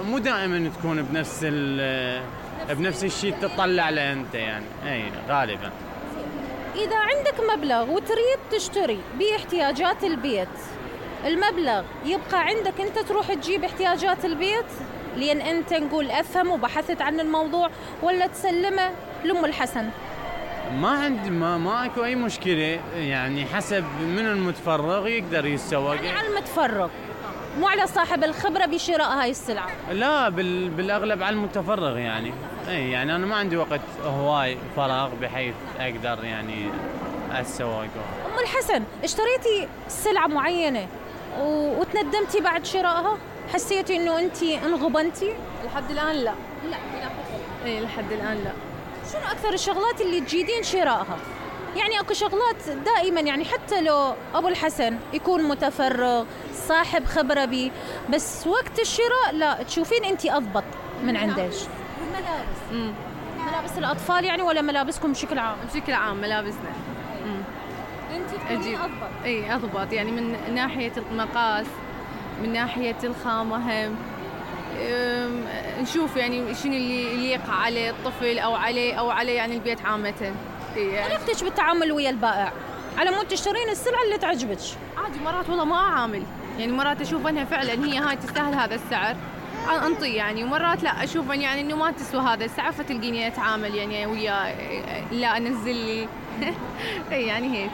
مو دائما تكون بنفس الشيء تطلع له انت يعني، اي غالبا. إذا عندك مبلغ وتريد تشتري باحتياجات البيت، المبلغ يبقى عندك أنت تروح تجيب احتياجات البيت لأن أنت نقول أفهم وبحثت عن الموضوع، ولا تسلمه لأم الحسن؟ ما عندي ما اكو اي مشكله يعني، حسب من المتفرغ يقدر يتسوق يعني على المتفرغ مو على صاحب الخبره بشراء هاي السلعه. لا بالاغلب على المتفرغ يعني. اي يعني انا ما عندي وقت هواي فراغ بحيث اقدر يعني اتسوق. ام الحسن، اشتريتي سلعه معينه وتندمتي بعد شرائها؟ حسيتي انه انت انغبنتي؟ لحد الان لا. اي لحد الان لا. شنو اكثر الشغلات اللي تجيدين شرائها؟ يعني اكو شغلات دائما يعني حتى لو ابو الحسن يكون متفرغ صاحب خبره بيه، بس وقت الشراء لا تشوفين انت اضبط من عندش. الملابس. ملابس الاطفال يعني ولا ملابسكم بشكل عام؟ بشكل عام ملابسنا. انت تكونين اضبط. اي اضبط يعني من ناحيه المقاس، من ناحيه الخامه هم. نشوف يعني شنو اللي يليق على الطفل او على يعني البيت عامه. طريقتك بالتعامل ويا البائع على مود تشترين السلعه اللي تعجبك؟ عادي مرات والله ما اعامل يعني، مرات اشوف انها فعلا هي هاي تستاهل هذا السعر انطي يعني، ومرات لا اشوف يعني انه ما تسوى هذا السعر فتلقيني اتعامل يعني وياه لا انزل لي يعني هيك.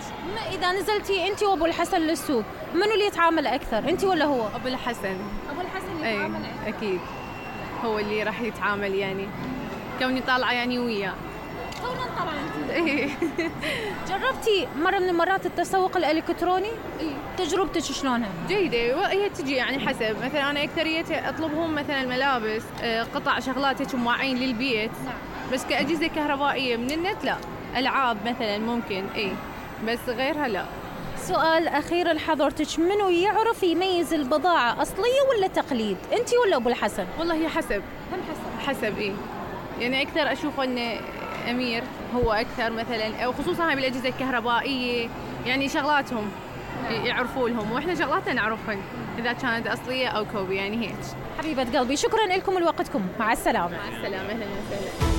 اذا نزلتي انت وابو الحسن للسوق منو اللي يتعامل اكثر، انت ولا هو؟ ابو الحسن. ابو الحسن يتعامل اكثر اكيد، هو اللي راح يتعامل يعني كوني طالعه يعني وياه. كوني طالعه انت. جربتي مره من المرات التسوق الالكتروني؟ تجربتك شلونها؟ جيده، هي تجي يعني حسب، مثلا انا اكثريه اطلبهم مثلا الملابس، قطع شغلات هيك مواعين للبيت. بس كاجهزه كهربائيه من النت لا. العاب مثلا ممكن بس غيرها لا. سؤال اخير لحضرتك، منو يعرف يميز البضاعه اصليه ولا تقليد، انت ولا ابو الحسن؟ والله هي حسب. هم حسب يعني اكثر اشوف ان امير هو اكثر مثلا، او خصوصا هاي بالاجهزه الكهربائيه يعني شغلاتهم يعرفوا لهم، واحنا شغلاتنا نعرفهن اذا كانت اصليه او كوبي يعني هيك. حبيبه قلبي، شكرا لكم لوقتكم، مع السلامه. مع السلامه، اهلا وسهلا.